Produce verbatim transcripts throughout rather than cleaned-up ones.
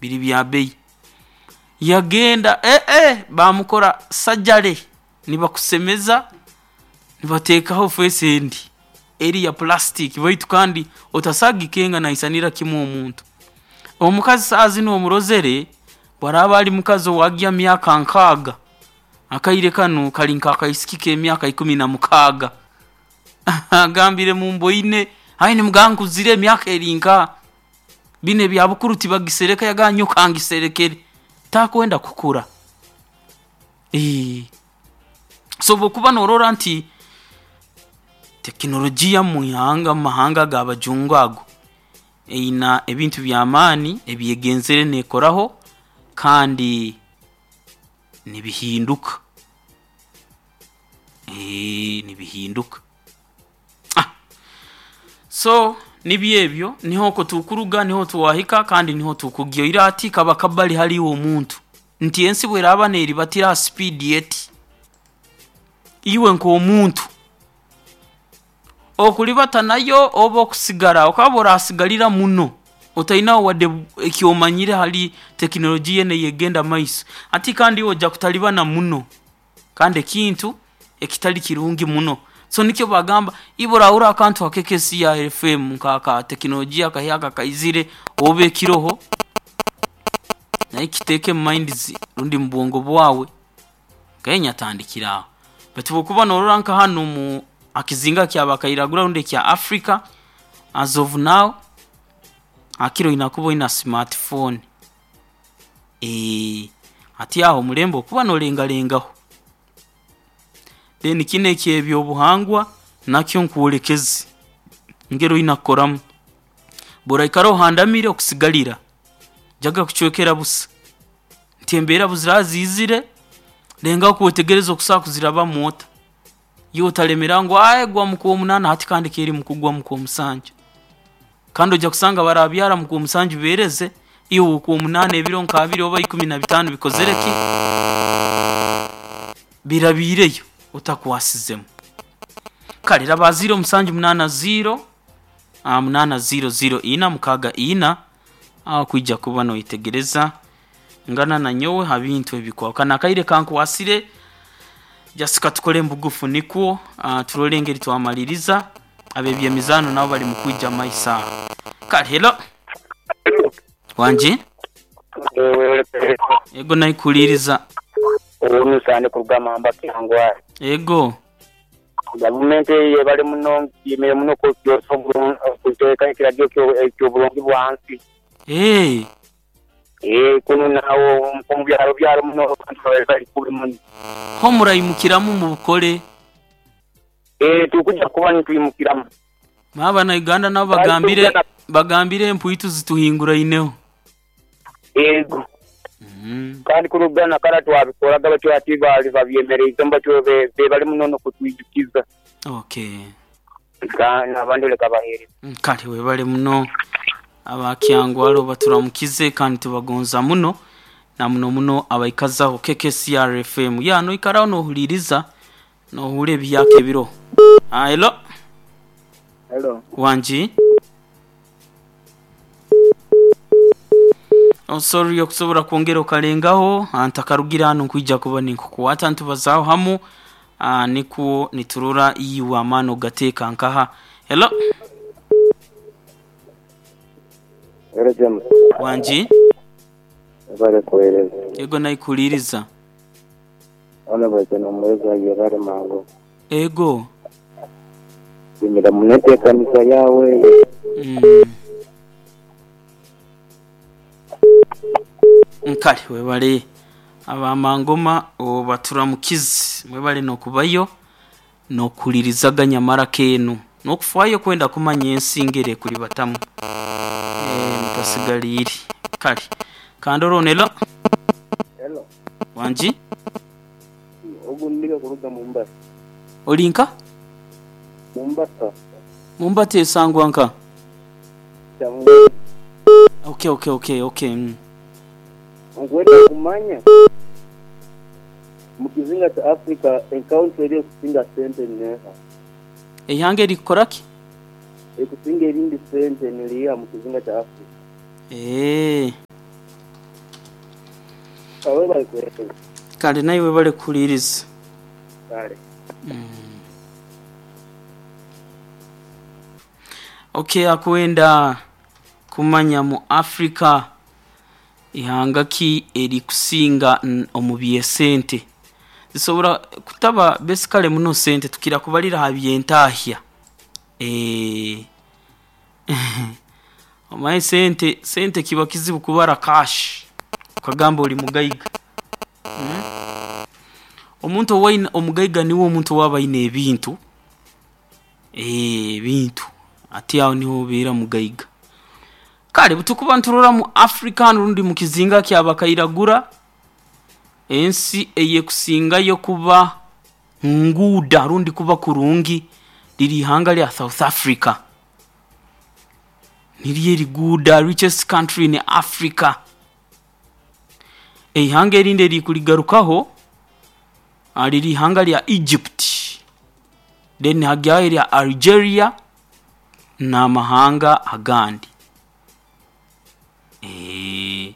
Biri bya bei. Yagenda eh eh bamukora sajare nibakusemeza nibateekaho face endi eri ya plastic baitu kandi otasagikenga naisanira kimu omuntu. Omukazi saa zinu omurozere bwaraaba ali mukazi owagya myaka nkaaga akaire kanu kali nk'akaisiki k'emyaka ikumi na mukaaga. Agambire mumboine ayi nimugamba nkuzire emyaka eri nkaha binu ebya bukuru tibagisereka yagamba nyowe kangiserekere takwenda kukura. Eeh so bw'okuba noorora nti tekinologiya mu ihanga mu mahanga ag'abajungu ago eyina ebintu by'amaani ebyegenzere neekoraho kandi nibihinduka, eeh nibihinduka. So nibyo ebyo niho oko tukuruga niho twahika kandi niho tukugya oihireho hati kaba kabali hali iwe omuntu nti ensi bweraaba neeribatira ha speed eti, iwe nk'omuntu okulibata nayo oba okusigara okaba oraasigalira muno otainaho wadde ekyomanyire hali tekinologiya enu ey'ekugenda mumaiso hati kandi iwe oija kutalibana muno kandi ekintu ekitali kirungi muno. So nikyo bagamba iwe orahuurra akantu nka K K C R F M nka tekinologiya akahyaka akaizire oba ekiroho nawe kiteeke mu minds rundi mu bwongo bwawe kenya tandikira aho. Baitu obu okuba noorora nka hanu mu ha kizinga ky'abakairagura rundi ekya Africa as of now hakiri oina kuba oina smart phone, eeh hati aho omulembe okuba noolengalengaho. Then kinu eky'ebyobuhangwa nakyo nkwolekeze engeri oina kukoramu, obu oraikara ohandamiire okusigalira oijaga kucwekera busa nti embeera obu ziraaba ziizire lengaho kwetegereza okusobola kuzirabamu ota, iwe otalemeraho ngu aee gwa mu kwomunaana hati kandi keri mukugwa mu kwomusanju kandi oija kusanga abarabyara mu kwomusanju beereze, iwe okwomunaana ebiro nk'abiri oba ikumi na bitaano bikozere ki? Birabiireyo otakwasizemu. Kare raba ziiro musanju munaana ziiro, munaana ziiro ziiro ina mukaaga ina aho okwija kuba nooyetegereza ngana nanyowe ha bintu ebikwahukana. Akaire kankwasire just katukole mubugufu nikwo turole engeri twamaliiriza ab'ebyemizaano nabo bali mukwija mumaiso aho. Kale hello, wangi? Ego naikuhuliiriza. Owomusani kuruga Mamba Kyangwali. Ego. Gavumenti eyo yebale muno nsiimire muno okuteeka ekiragiro eky'obulungi bwansi. Eeh. Eeh kunu naawo omubyaro byaro muno abantu bali kubi muno. Ho muraimukiramu mubukole. Eeh tukuja kuba nitwimukiramu. Abanauganda nabo bagambire bagambire empwitu zituhinguraineho. Ego. Kandi kuruga nakare twabikoraga batyo ati baali babyemereize batyo bebale muno okutwijukiza. Okay. Abandi leka bahereze. Kale webale muno aba Kyangwali baturamukize kandi tubagonza muno na muno muno abaikazaho K K C R F M. Ya noikaraho nohuliiriza nohuura ebihyaka ebiroho. Ah, hello. Hello. Wangi? Oh, sorry okusobola kwongera okalengaho ntakarugire hanu nkwija kuba ninkukwata nitubazaaho hamu ah, nikwo niturora iwe amaani ogateeka nkaha. Hello. Hello James. Wangi? Webale kuweereza. Ego naikuhuliiriza. Ono bweze n'omuweereza yebale mangu. Ego. Yimira muno enteekaniza yawe. Mm. Kale webale abamangoma obaturamukize mwebale n'okubayo n'okuhuliirizaga nyamara keenu n'okufaayo kwenda kumanya ensi ngeri ekulibatamu eeh mutasigaliire. Kale kandora hello. Hello. Wangi? Ogu kuruga Mombasa. Oli nka? Mombasa. Mombasa esangwa nka? Kyangwali. Okay okay okay okay. Mm. Nkwenda kumanya mu kizinga kya Africa enkaunti eri ekusinga sente neeha? Eihanga erikukora ki? Ekusinga erindi sente niriiha mu kizinga kya Africa? Eeh. Kale naiwe bale kuhuliriza. Kale. Okay, akwenda kumanya mu Africa ihanga ki erikusinga n- omu byesente zisobora kutaba besikale muno sente tukira kubalira ha byentahya. Eh, omanyi sente sente kiba kizibu kubara cash okagamba oli mugaiga. Mm? Omuntu owaina omugaiga niwe omuntu owaba aine ebintu, eh, ebintu ati aho niho obeera mugaiga. Kale butukuba nturora mu Africa rundi mu kizinga kyabakairagura, ensi eyekusingayo kuba nguuda rundi kuba kurungi liri ihanga lya South Africa. Niryo eriguuda, richest country in Africa. Eihanga erindi erikuligarukaho ah, liri ihanga lya Egypt, then hagyaho erya Algeria n'amahanga agandi. Eh,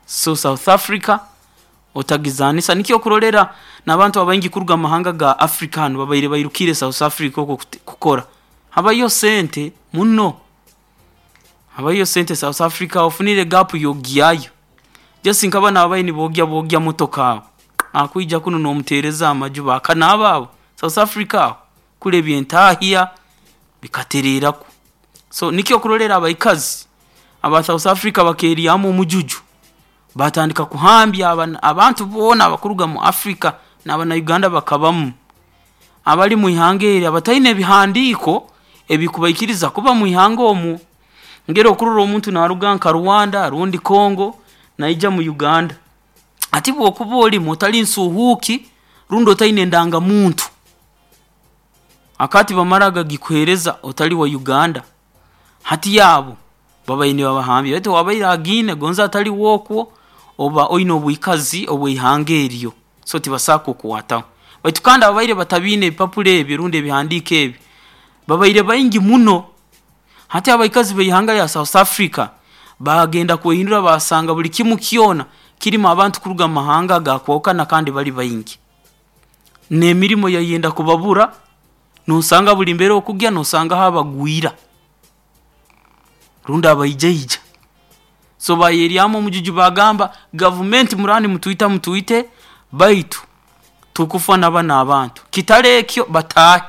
so South Africa otagizanisa nikyo okurolera n'abantu abaingi kuruga mu mahanga ga Africa hanu babaire bairukire South Africa okwo kute- kukora. Habayo sente muno, habayo sente South Africa, ofunire gap yogyayo. Just nkaba nabaye nibogya bogya motoka abo akwija kuno nomutereza amaju bakanaaba abo South Africa aho kule ebyentahya bikatereraku. So nikyo okurolera abaikazi aba South Africa bakeryamu omujuju, batandika kuhambya abana- abantu boona abakuruga mu Africa n'abana Uganda bakabamu abali mu ihanga eri abataine ebihandiiko ebikubaikiriza kuba mu ihanga omwo. Ngera okurora omuntu naruga nka Rwanda rundi Congo naija mu Uganda, ati bwokuba olimu otali nsuhuuki rundi otaine endangamuntu, akati bamara gagikuheereza otali wa Uganda, hati yaabo babaire nibabahambya. Baitu wabaire agiine gonza atali wookwo oba oine obwikazi obw'eihanga eryo, so tibasobola kukukwataho. Baitu kandi ababaire batabiine ebipapura ebyo rundi ebihandiiko ebi babaire baingi muno. Hati abaikazi b'eihanga lya South Africa bagenda kwehindura basanga buli kimu kyona kirimu abantu kuruga mu mahanga agakwahukana kandi bali baingi, n'emirimo yayenda kubabura. Nosanga buli mbere okugya nosangaho abagwira rundi abaijaija. So bayeryamu omujuju bagamba gavumenti murani mutwita mutwite, baitu tukufa nabana abantu kitale ekyo bataahe.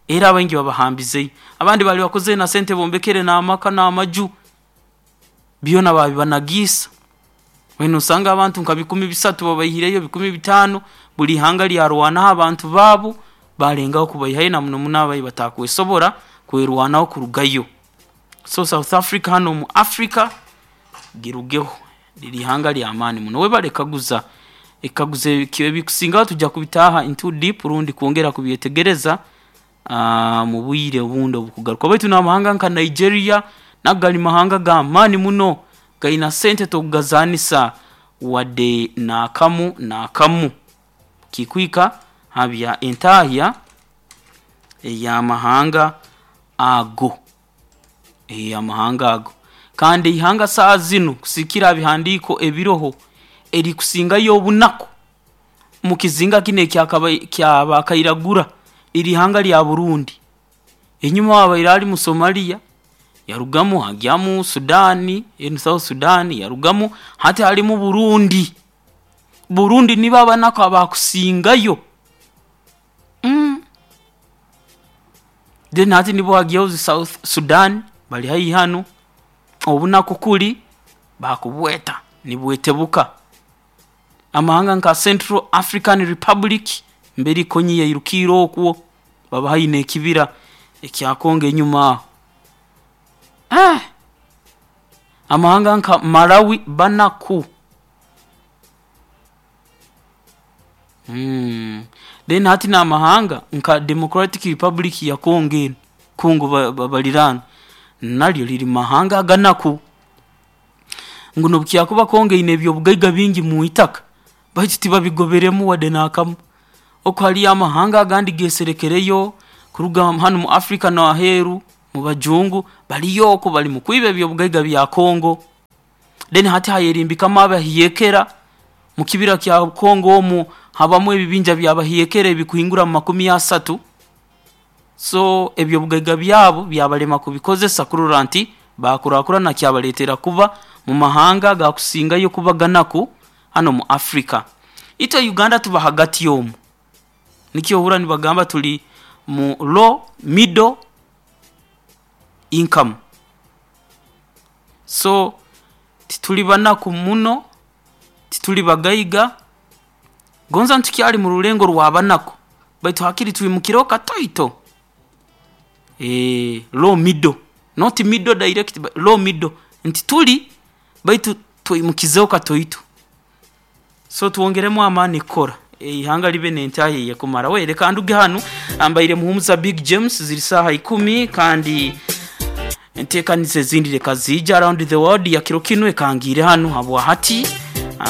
Era abaingi babahambizeyo, abandi bali bakozere na sente bombekere n'amaka n'amaju byona babibanagiisa. Wena osanga abantu nka bikumi bisatu babaihireyo, bikumi bitaano, buli ihanga lyarwanaho abantu baabo balengaho kubaihayo, na muno muno abayi batakwesobora kwerwanaho kurugayo. So South Africa hano mu Africa girugeho, liri ihanga ly'amaani muno. Webale kaguza ekaguza ebikusingaho tujja kubitaaha into deep rundi kwongera kubyetegereza ah, mu bwire obundi obukugaruka. Baitu n'amahanga nka Nigeria nago gali mahanga g'amaani muno, gaina sente tokugazanisa wadde n'akamu n'akamu. Kikwika habya entahya ey'amahanga ago, ey'amahanga ago. Kandi ihanga saa zinu kusikira bihandiiko ebiroho erikusingayo obunaku mu kizinga kinu ekyakaba- kyabakairagura liri ihanga lya Burundi. Enyuma wabaire ali mu Somalia, yarugamu agyamu Sudani, enu South Sudan yarugamu, hati ali mu Burundi. Burundi nibo abanaku abakusingayo. Mm. Then hati nibo hagyaho zi South Sudan bali haihi hanu, obunaku kuli bakubweta nibwetebuka. Amahanga nka Central African Republic mbere Konyi yairukire okwo, baba haihi n'ekibira ekya Congo enyuma aho. Ah! Amahanga nka Malawi banaku. Mm. Then hati n'amahanga nka Democratic Republic ya Congo enu, Congo ba- ba- baliraana naryo liri mahanga aganaku. Ngu nobukyakuba Congo eine ebyobugaiga bingi mu itaka, baitu tibabigoberemu wadde n'akamu. Oku haliyo amahanga agandi geserekereyo kuruga hanu mu Africa n'aheeru mu bajungu baliyo okwo bali mu kwiba ebyobugaiga bya Congo. Then hati hayerimbikamu abahiyekera Mu kibira kya Kongo omu habamu ebibinja byabahekere ebikuhingura mu makumi asatu. So ebyobugaiga byabo byabalema kubikozesa kurora nti bakurakurana, kyabaletera kuba mu mahanga gakusingayo kuba ganaku hano mu Africa. Itwe Uganda tuba hagati omu, nikyo ohurra nibagamba tuli mu low middle income. So tituli banaku muno, tituli bagaiga, gonza ntukyali mu rulengo rw'abanaku, baitu hakiri twimukireho katoito. eh, low middle, not middle direct, but low middle, nti tuli baitu twimukizeho katoito. So twongeremu amaani kukora ihanga libe nentahi yekumara. We reka nduge hanu ambaire Muhumuza Big James. Ziri saaha ikumi, kandi enteekaniza ezindi reka ziija around the world ya kiro kinu ekangire hanu habwa hati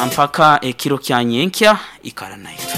mpaka ekiro kya nyenkya. Ikara naitwe.